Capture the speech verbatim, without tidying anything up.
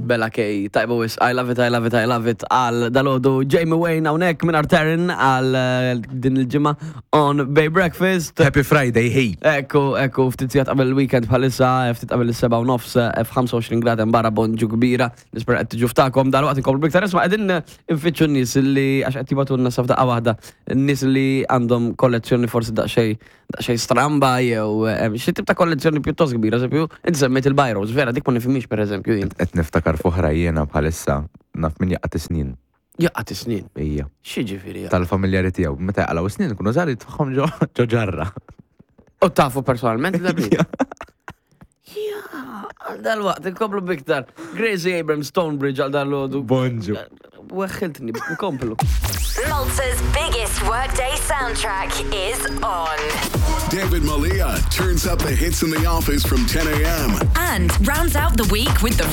Bella K, tajba wisq, I love it, I love it, I love it, għal dalgħodu Jamie Wayne hawnhekk minn Taryn għal eh, din il-ġimgħa on Bay Breakfast. Happy Friday, hey! Ekku, ekku, ftit sigħat qabel il-weekend bħalissa, ftit qabel is-seba u nofs, f'ħamsa u għoxrin grad hemm barra, bonġu kbira, nispera qed tiġu ftakom, dal-waqt inkomplu biktar isma' qegħdin nfittxu n-nies li għax qed jibagħtulna sa f'daqqa waħda, n-nies li għandhom kollezzjoni forsi daqsxejn daqsxejn stramba jew eh, xi tip ta' kollezzjoni pjuttost kbira, eżempju, inti semmejt il-biros, vera dik ma nifhimix pereżempju jien. Qed niftakar fuħra jiena bħalissa naf min jaqgħat snin. Jaqgħat snin. Ija. X'jiġifieri? Tal-familjari tiegħu. Meta jaqalgħu snin kunu żgħar jitfaħħom ġo ġo ġarra. U tafu personalment da Ja, għal dal-waqt, inkomplu biktar. Gracie Abrams, Stonebridge għal dal-għodu. Bonġu. Weħħiltni, nkomplu. Malta's biggest workday soundtrack is on. David Malia turns up the hits in the office from ten a m And rounds out the week with the